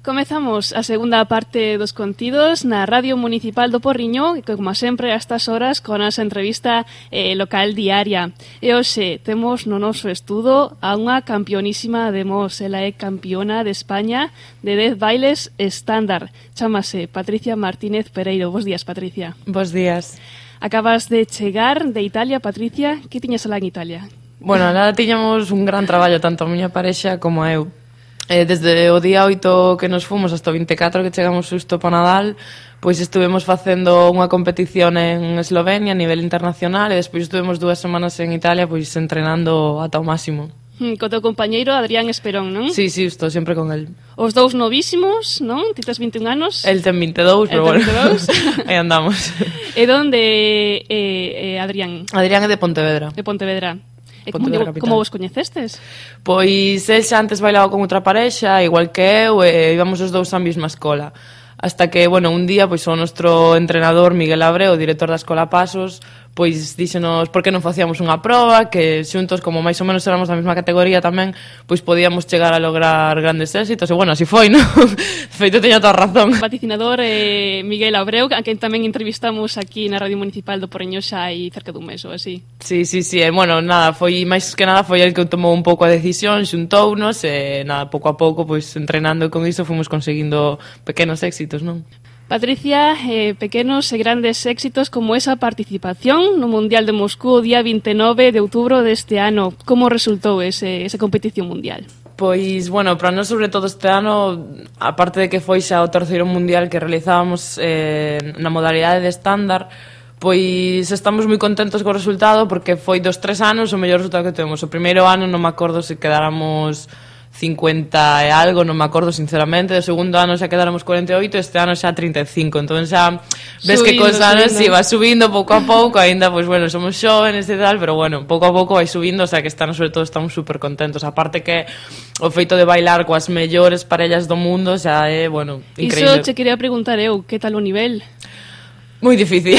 Comezamos a segunda parte dos contidos na Radio Municipal do Porriño, que como sempre a estas horas con a nosa entrevista local diaria. E hoxe temos no noso estudo a unha campeonísima de Mos, ela é campeona de España de 10 bailes estándar. Chámase Patricia Martínez Pereiro. Bos días, Patricia. Bos días. Acabas de chegar de Italia, Patricia. Que tiñas alá en Italia? Bueno, alá tiñamos un gran traballo, tanto a miña parexa como a eu. Desde o día 8 que nos fomos hasta o 24 que chegamos xusto para Nadal, pois estuvemos facendo unha competición en Eslovenia a nivel internacional e despois estuvemos 2 semanas en Italia pois entrenando ata o máximo. Co teu compañeiro Adrián Esperón, non? Sí, estou sempre con el. Os dous novísimos, non? Ti tes 21 anos. El ten 22, pero bueno, aí andamos. E donde Adrián? Adrián é de Pontevedra. De Pontevedra. E como vos coñecestes? Pois el xa antes bailaba con outra parexa, igual que eu, e íbamos os dous á mesma escola. Hasta que, bueno, un día, pois o nostro entrenador, Miguel Abreu, o director da Escola Pasos, pois díxenos por que non facíamos unha proba, que xuntos, como máis ou menos éramos da mesma categoría tamén, pois podíamos chegar a lograr grandes éxitos, e bueno, así foi, non? De feito, teño toda razón. O vaticinador Miguel Abreu, a quen tamén entrevistamos aquí na Radio Municipal do Porriño xa hai cerca dun mes ou así. Sí, e bueno, nada, foi máis que nada foi el que tomou un pouco a decisión, xuntounos, e nada, pouco a pouco, pois entrenando e con iso fomos conseguindo pequenos éxitos, non? Patricia, pequenos e grandes éxitos como esa participación no Mundial de Moscú o día 29 de outubro deste ano. Como resultou esa competición mundial? Pois, bueno, para nós, sobre todo este ano, aparte de que foi xa o terceiro mundial que realizábamos na modalidade de estándar, pois estamos moi contentos co resultado porque foi dos 3 anos o mellor resultado que temos. O primeiro ano non me acordo se quedáramos 50 e algo, non me acordo sinceramente. O segundo ano xa quedáramos 48, este ano xa 35. Entón xa ves que cos anos si va subindo pouco a pouco, aínda pois bueno, somos xóvenes e tal, pero bueno, pouco a pouco vai subindo, o sea que este ano sobre todo estamos super contentos. Aparte que o feito de bailar coas mellores parellas do mundo xa é, bueno, increíble. Iso che quería preguntar eu, que tal o nivel? Moi difícil.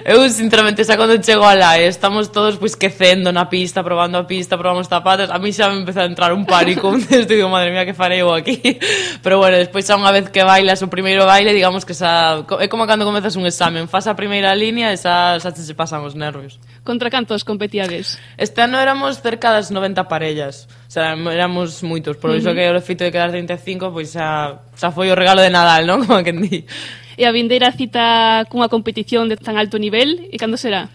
Eu, sinceramente, xa cando chego alá e estamos todos pois quecendo na pista, probando a pista, probamos zapatos, a mí xa me empeza a entrar un pánico, digo, madre mía, que farei eu aquí? Pero bueno, despois xa unha vez que bailas o primeiro baile, digamos que xa é como cando comezas un examen, faz a primeira línea e xa se pasan os nervios. Contra cantos competiades? Este ano éramos cerca das 90 parellas, o sea, éramos moitos, por iso que o feito de quedar 35, pois xa foi o regalo de Nadal, non? Como que di. E a vindeira cita cunha competición de tan alto nivel, e cando será?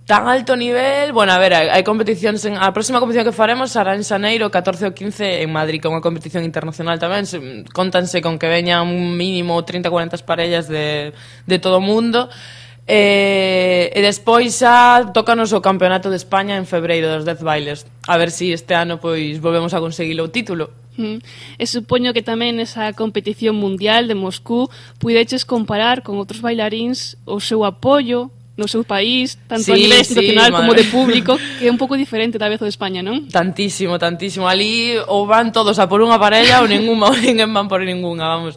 Tan alto nivel, bueno, a ver, hai competicións a próxima competición que faremos será en xaneiro, 14 ou 15 en Madrid, que é unha competición internacional tamén, contanse con que veñan un mínimo 30-40 parellas de todo o mundo, e despois xa tócanos o Campeonato de España en febreiro dos 10 bailes, a ver se este ano pois volvemos a conseguir o título. E supoño que tamén nesa competición mundial de Moscú puideches comparar con outros bailaríns o seu apoio no seu país, tanto a nivel institucional como de público, que é un pouco diferente da vez o de España, non? Tantísimo. Ali ou van todos a por unha parella ou ninguna, ou ninguén van por ninguna, vamos.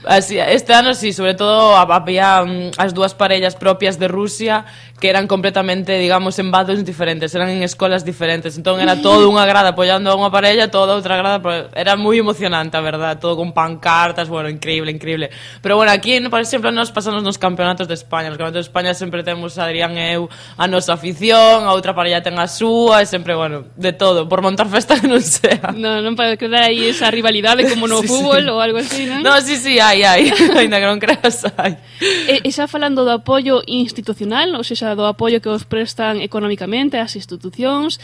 Así, este ano sí, sobre todo había as 2 parellas propias de Rusia que eran completamente, digamos, en bandos diferentes, eran en escolas diferentes, entón era todo unha grada apoiando a unha parella, toda outra grada, era moi emocionante, a verdad, todo con pancartas, bueno, increíble. Pero bueno, aquí, por exemplo, nos pasamos nos campeonatos de España, nos campeonatos de España sempre temos a Adrián e eu a nosa afición, a outra parella ten a súa, e sempre, bueno, de todo, por montar festa que non sea. Non para quedar aí esa rivalidade como no fútbol ou algo así, non? No, sí, hai, ainda que non creas, hai. E xa falando do apoio institucional, ou seja, do apoio que os prestan económicamente as institucións,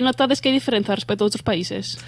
notades que hai diferenza respecto a outros países?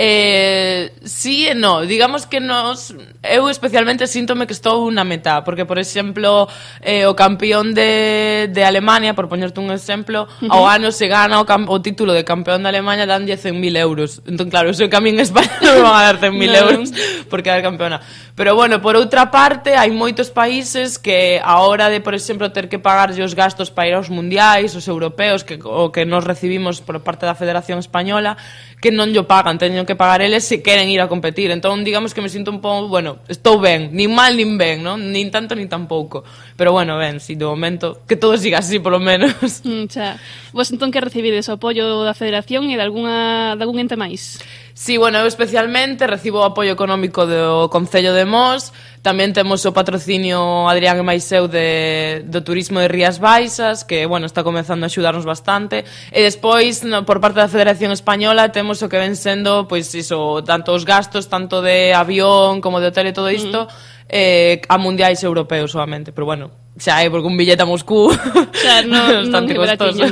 Sí e no, digamos que eu especialmente síntome que estou na metá, porque por exemplo o campeón de Alemania, por poñerte un exemplo, ao ano se gana o título de campeón de Alemania, danlle 100.000 euros, entón claro, eso que a mí en España non me van a dar 100.000 euros por quedar campeona. Pero bueno, por outra parte hai moitos países que a hora de, por exemplo, ter que pagar os gastos para ir aos mundiais, os europeos, o que nos recibimos por parte da Federación Española, que non llo pagan, teñen que pagar eles se queren ir a competir. Entón, digamos que me sinto un pouco, bueno, estou ben, nin mal nin ben, non? Nin tanto nin tampouco. Pero bueno, ben, si de momento que todo siga así, polo menos. Xa. Vos entón que recibides o apoio da Federación e de algún ente máis? Sí, bueno, eu especialmente recibo o apoio económico do Concello de Mos, tamén temos o patrocinio Adrián e Maiseu do turismo de Rías Baixas, que, bueno, está comezando a axudarnos bastante, e despois, por parte da Federación Española, temos o que ven sendo, pois, iso, tanto os gastos, tanto de avión como de hotel e todo isto, a mundiais europeos solamente, pero bueno, xa é porque un billete a Moscú bastante costoso.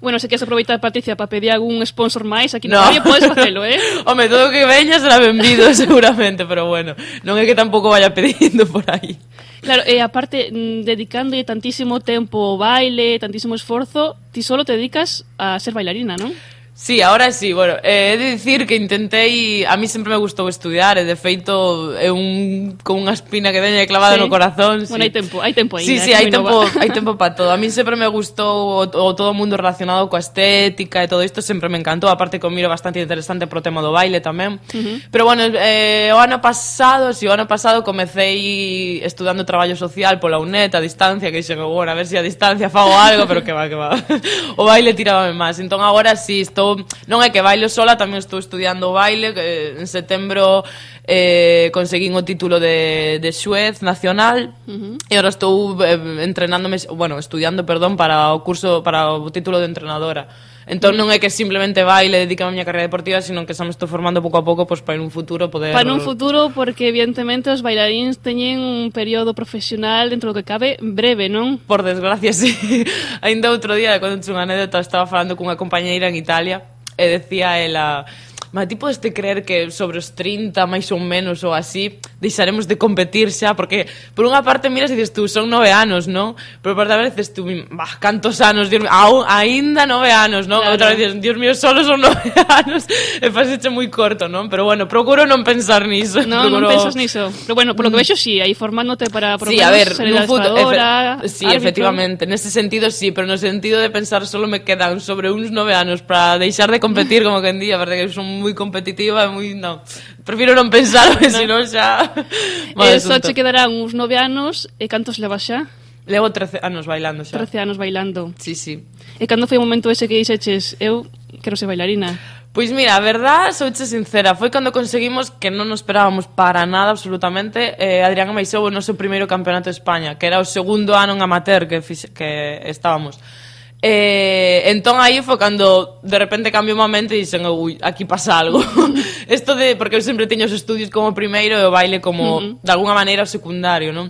Bueno, se queres aproveitar, Patricia, para pedir algún sponsor máis aquí no radio, podes facelo, Home, todo o que veña será benvido seguramente, pero bueno, non é que tampouco vaya pedindo por aí. Claro, e aparte, dedicándolle tantísimo tempo ao baile, tantísimo esforzo, ti solo te dedicas a ser bailarina, non? Sí, ahora sí, bueno, he de dicir que intentei, a mí sempre me gustou estudiar, e de feito é con unha espina que teña clavada no corazón. Bueno, sí. hai tempo aí. Sí, hai tempo para todo. A mí sempre me gustou todo o mundo relacionado coa estética e todo isto sempre me encantou, aparte que o miro bastante interesante pro tema do baile tamén. Pero bueno, o ano pasado comecei estudando traballo social pola UNED a distancia, que dixen, bueno, a ver se a distancia fago algo, pero que va. O baile tirábame máis. Entón agora sí, non é que bailo sola, tamén estou estudiando o baile, que en setembro conseguín o título de xuez nacional, e agora estou estudiando para o título de entrenadora. Entón non é que simplemente baile, dedico a miña carreira deportiva, sino que xa me estou formando pouco a pouco para en un futuro poder... Para un futuro, porque evidentemente os bailaríns teñen un período profesional dentro do que cabe breve, non? Por desgracia, sí. Ainda outro día, cando unha anécdota, estaba falando cunha compañeira en Italia e decía ela... Mas ti podes te creer que sobre os 30, máis ou menos, ou así, deixaremos de competir xa, porque por unha parte miras e dices tú, son 9 anos, non? Pero por outra vez dices tú, cantos anos, Dios mío, aínda 9 anos, non? Claro. Outra vez dices, Dios mío, solo son 9 anos, e paseche moi corto, non? Pero bueno, procuro non pensar niso. Non pensas niso. Pero bueno, por lo que vexo, sí, aí formándote para sí, a ver, ser adestradora, sí, efectivamente, nese sentido sí, pero no sentido de pensar solo me quedan sobre uns 9 anos para deixar de competir, como que en día, verdade que son moi competitiva, non. Prefiro non pensar, porque senón xa... Só che quedarán uns 9 anos, e cantos levas xa? Levo 13 anos bailando xa. 13 anos bailando. Sí, sí. E cando foi o momento ese que dixeches, eu quero ser bailarina? Pois mira, a verdad, souche sincera, foi cando conseguimos, que non nos esperábamos para nada absolutamente, Adrián e Maiseu o noso primeiro campeonato de España, que era o segundo ano en amateur que estábamos. Entón aí foi cando de repente cambiou o mente e dixen, ui, aquí pasa algo. Isto de, porque eu sempre teño os estudios como primeiro e o baile como, de alguna maneira, o secundario, non?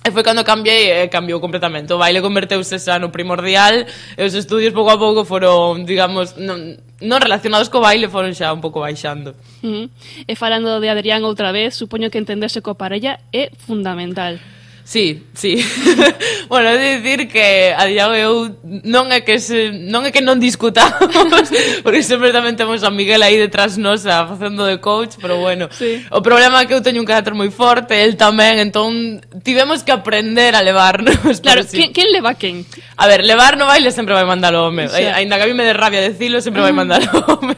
E foi cando cambiei e cambiou completamente. O baile converteuse xa no primordial e os estudios pouco a pouco foron, digamos, non relacionados co baile, foron xa un pouco baixando. E falando de Adrián outra vez, supoño que entenderse coa parella é fundamental. Sí, sí. Bueno, he de dicir que a día de eu non é que non discutamos, porque sempre tamén temos a Miguel aí detrás nosa facendo de coach, pero bueno, sí. O problema é que eu teño un carácter moi forte, el tamén, entón tivemos que aprender a levarnos. Claro, sí. Quen leva quen? A ver, levar no baile sempre vai mandar o home, ainda que a mí me dé rabia decilo, sempre vai mandar o home.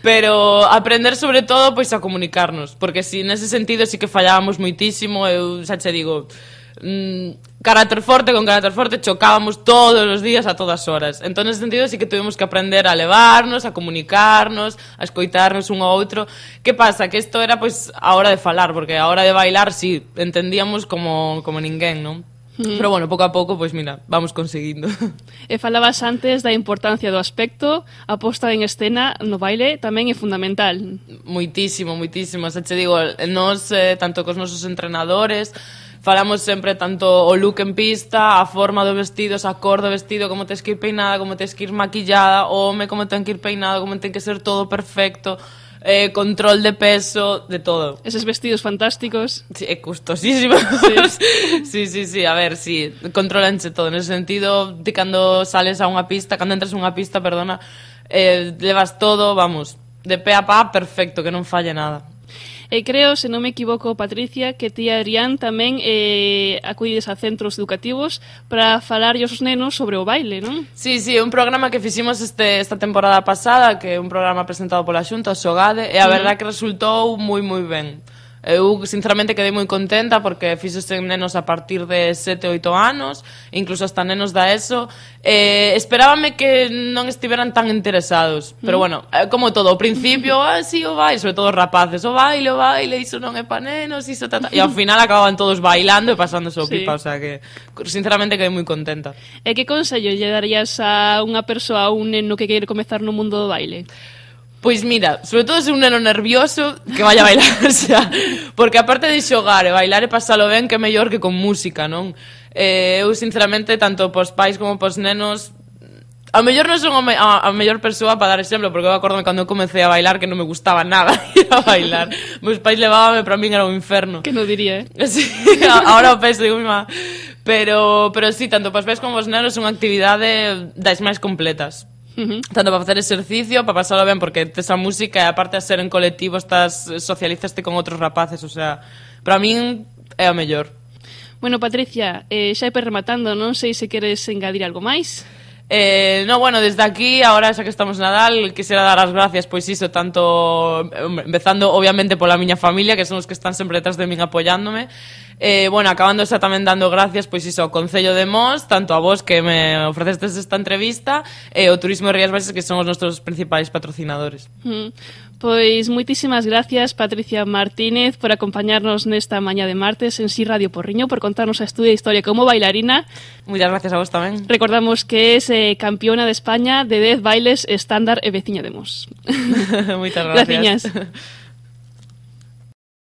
Pero aprender sobre todo pois a comunicarnos, porque si nese sentido sí que fallábamos moitísimo, eu xa che digo, carácter forte con carácter forte chocábamos todos os días a todas horas. Entón nese sentido sí que tuvimos que aprender a levarnos, a comunicarnos, a escoitarnos un ao outro. Que pasa? Que isto era pois a hora de falar, porque a hora de bailar sí, entendíamos como ninguén, non? Pero bueno, pouco a pouco, pois mira, vamos conseguindo. E falabas antes da importancia do aspecto, a posta en escena no baile tamén é fundamental. Moitísimo, moitísimo. Xa te digo, nós, tanto cos nosos entrenadores, falamos sempre tanto o look en pista, a forma do vestido, a cor do vestido, como tens que ir peinada, como tens que ir maquillada, o home como ten que ir peinado, como ten que ser todo perfecto, control de peso, de todo. Eses vestidos fantásticos. Sí, é custosísimo. Sí, a ver, sí, controlanche todo. Nese sentido, ti cando sales a unha pista, cando entras a unha pista, perdona, levas todo, vamos, de pé a pá, perfecto, que non falle nada. E creo, se non me equivoco, Patricia, que ti, Adrián, tamén acudides a centros educativos para falar aos nenos sobre o baile, non? Sí, é un programa que fiximos esta temporada pasada, que é un programa presentado pola Xunta, o Xogade, e a verdad que resultou moi, moi ben. Eu, sinceramente, quedei moi contenta porque fixose nenos a partir de 7, 8 anos, incluso hasta nenos da ESO. Esperábame que non estiveran tan interesados, pero bueno, como todo, ao principio, sí, o baile, sobre todo os rapaces, o baile, iso non é pa nenos, iso tata. E ao final acababan todos bailando e pasándose o pipa, o sea que, sinceramente, quedei moi contenta. E que consello lle darías a unha persoa, a un neno que quere comezar no mundo do baile? Pois mira, sobre todo se un neno nervioso, que vaya a bailar, xa, porque aparte de xogar e bailar e pasalo ben, que é mellor que con música, non? Eu, sinceramente, tanto pos pais como pos nenos, a mellor non son a mellor persoa para dar exemplo, porque eu acordome cando eu comecei a bailar que non me gustaba nada ir a bailar. Meus pais levábame, para min era un inferno. Que non diría, Sí, ahora o penso, digo, mima. Pero sí, tanto pos pais como pos nenos son actividade das máis completas. Tanto para facer exercicio, para pasalo ben, porque tes a música e aparte de ser en colectivo socializaste con outros rapaces, o sea, para min é a mellor. Bueno, Patricia, xa ir rematando, non sei se queres engadir algo máis. No, bueno, desde aquí, ahora xa que estamos Nadal, quisiera dar as gracias, pois iso, tanto empezando obviamente pola miña familia, que son os que están sempre detrás de min apoiándome. Bueno, acabando xa tamén dando gracias, pois iso, ao Concello de Mos, tanto a vos que me ofrecestes esta entrevista, e o Turismo de Rías Baixas, que son os nosos principais patrocinadores. Pois moitísimas gracias, Patricia Martínez, por acompañarnos nesta mañá de martes en Si Radio Porriño, por contarnos a estudia historia como bailarina. Muchas gracias a vos tamén. Recordamos que es campeona de España de 10 bailes estándar e veciña de Mos. Moitas gracias. Graciñas.